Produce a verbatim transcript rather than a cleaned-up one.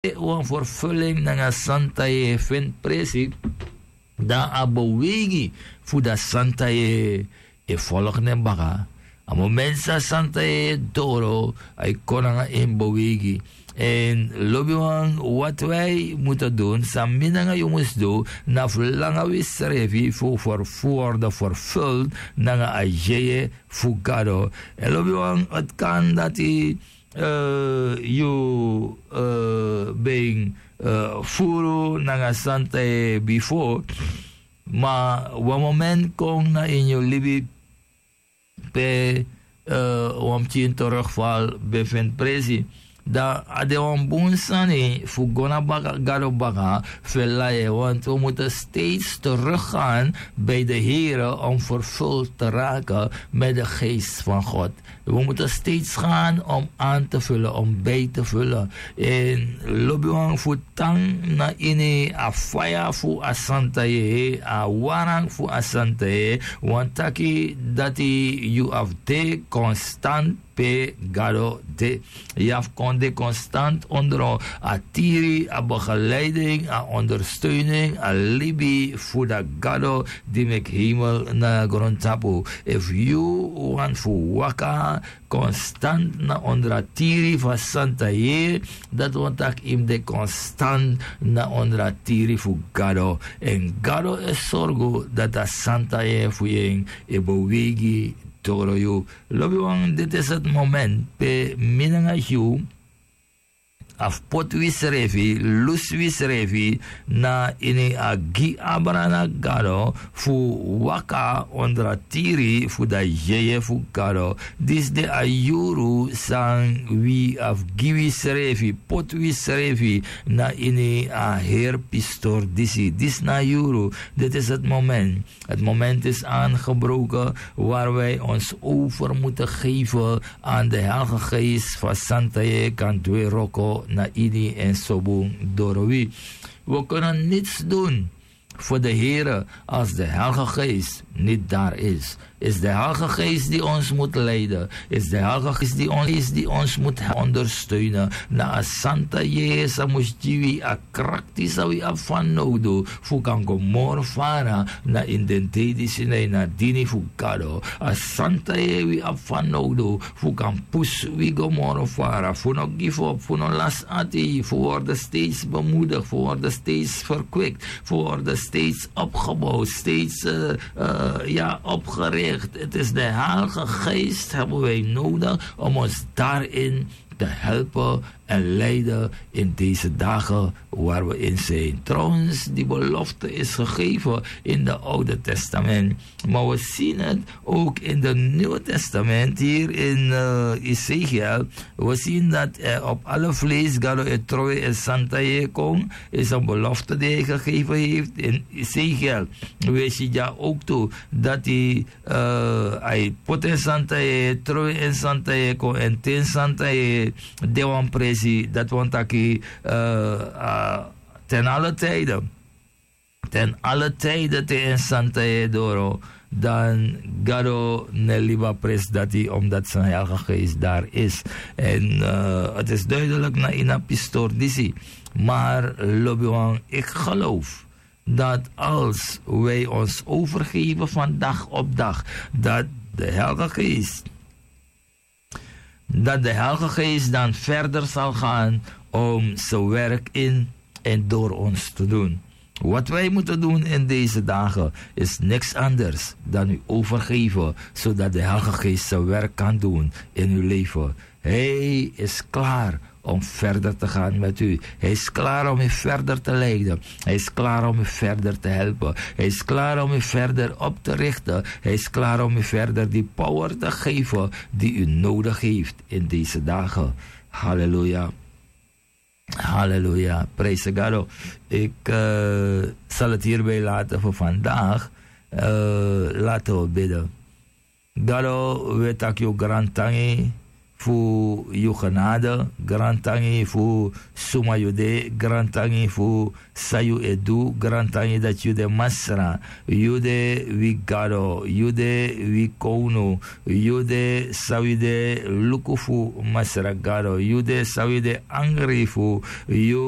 wan ferfulin nanga santa yeye feni presi, dan a beweigi fu dati santa yeye e folgu nen baka. A momenti san santa yeye doro, a e kon nanga en beweigi. Èn lobiwan, wati wi mus dun, san mi nanga yu mus du, na fu langa wi srefi fu ferfu worde ferful nanga a yeye fu gado. Èn lobiwan, ati kan dati yu ben furu nanga santa yeye bifo, ma wan momenti kon na ini yu libi pe wan pikin terugval ben feni presi, dan a de wan bun sani fu go na baka gado baka fu e lai en, want wi mutu steeds teruggaan bij de Here om vervuld te raken met de geest van God. We moeten steeds gaan om aan te vullen, om bij te vullen. En lobiwan fu tan na ini a faya fu a santa yeye, a waran fu a santa yeye, wan taki dati yu abi de konstant pe gado de. Yu abi kon de konstant ondro a tiri, a begeleiding, a ondersteuning, a libi fu da gado di meki hemel na grontapu. Efu yu wani fu waka konstant na ondro a tiri fu a santa yeye, dati wani taki yu mus de konstant na ondro a tiri fu gado. Èn gado e sorgu dati a santa yeye fu yu en e beweigi doro yu. Lobiwan, diti is het moment pe mi nanga yu abi poti wisrefi, lusi wisrefi na ini a gi abra na gado fu waka ondro a tiri fu da yeye fu gado. Disi de a yuru san wi abi gi wisrefi, poti wisrefi na ini a heri pistori disi. Disi na a yuru, diti is het moment. Het moment is aangebroken waar wij ons over moeten geven aan de Heilige Geest fu a santa yeye kan du en wroko na ini en sobun doro wi. We kunnen niets doen voor de Here als de Heilige Geest niet daar is. Is de Heilige Geest die ons moet leiden. Is de Heilige Geest die ons, die ons moet ondersteunen. Na a santa yeye san mus gi wi a krakti san wi abi fanowdu fu kan go moro fara na ini den dei disi na ini a dini fu gado. A santa yeye wi abi fanowdu fu kan pusu wi go moro fara, fu no gifop, fu no lasi ati, fu worde steeds bemoedig, fu worde steeds verkwikt, fu worde steeds opgebouwd, steeds, eh, eh, ja, opgericht. Het is de Heilige Geest hebben wij nodig om ons daarin te helpen en leiden in deze dagen waar we in zijn. Trouwens, die belofte is gegeven in de Oude Testament. Maar we zien het ook in de Nieuwe Testament, hier in eh, Ezekiel. We zien dat eh, op alle vlees gado e trowe en santa yeye kon, is een belofte die hij gegeven heeft in Ezekiel. We zien ja ook toe dat hij eh, a e poti en santa yeye, trowe en santa yeye kon, èn te en santa yeye de wan presi, dati wani taki eh, a, ten alle tijden. Ten alle tijden te en santa yeye doro, dan gado no e libi a presi dati, omdat zijn Heilige Geest daar is. En eh, het is duidelijk na ini a pistori disi. Maar lobiwan, ik geloof dat als wij ons overgeven van dag op dag, dat de Heilige Geest, dat de Heilige Geest dan verder zal gaan om zijn werk in en door ons te doen. Wat wij moeten doen in deze dagen is niks anders dan u overgeven, zodat de Heilige Geest zijn werk kan doen in uw leven. Hij is klaar om verder te gaan met u. Hij is klaar om u verder te leiden. Hij is klaar om u verder te helpen. Hij is klaar om u verder op te richten. Hij is klaar om u verder die power te geven die u nodig heeft in deze dagen. Halleluja. Halleluja. Prijs de Gado. Ik eh, zal het hierbij laten voor vandaag. Eh, laten we bidden. Gado, we taki yu grantangi fu yu genade, grantangi fu suma yu de, grantangi fu san yu e du, grantangi dati yu de Masra, yu de wi Gado, yu de wi Kownu, yu de san wi de luku fu, Masra Gado, yu de san wi de angri fu, yu